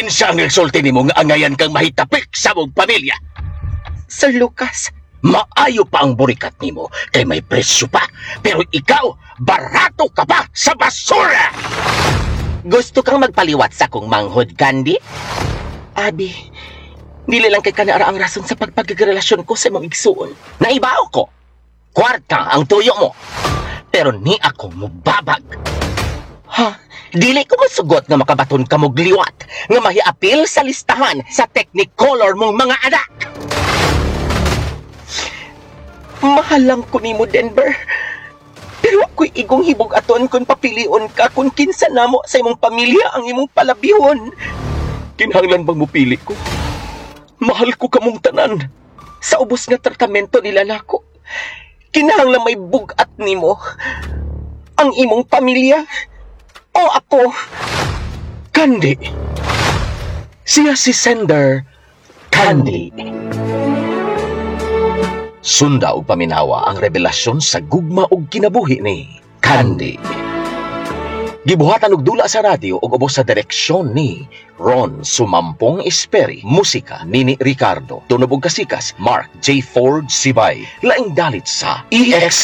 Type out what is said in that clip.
Kinsa ang nagsulti nimo nga angayan kang mahitapik sa mong pamilya? Sir Lucas, Maayo pa ang burikat nimo kay may presyo pa. Pero ikaw, barato ka pa sa basura! Gusto kang magpaliwat sa akong manghod, Candy? Abi, dili lang kay kanara ang rason sa pagpagrelasyon ko sa imong igsuon. Naibaw ko. Kwarta ang tuyo mo. Pero ni ako mubabag. Ha? Dili ko masugot nga makabaton ka mo gliwat nga mahiapil sa listahan sa Technicolor mong mga anak. Mahal lang ko nimo, Denver. Pero ako'y igong hibog-aton kung papilion ka kung kinsa namo sa imong pamilya ang imong palabihon. Kinahanglan bang mupili ko? Mahal ko kamong tanan. Sa ubos nga tratamento nila nako, kinahanglan may bugat nimo. Ang imong pamilya o ako. Candy. Siya si sender Candy. Sunda og paminawa ang revelasyon sa gugma ug kinabuhi ni Candy. Gibuhatan og dula sa radyo ug ubos sa direksyon ni Ron Sumampong Esperi, musika Nini Ricardo, tunob og kasikas Mark J. Ford Sibay. Laing dalit sa EX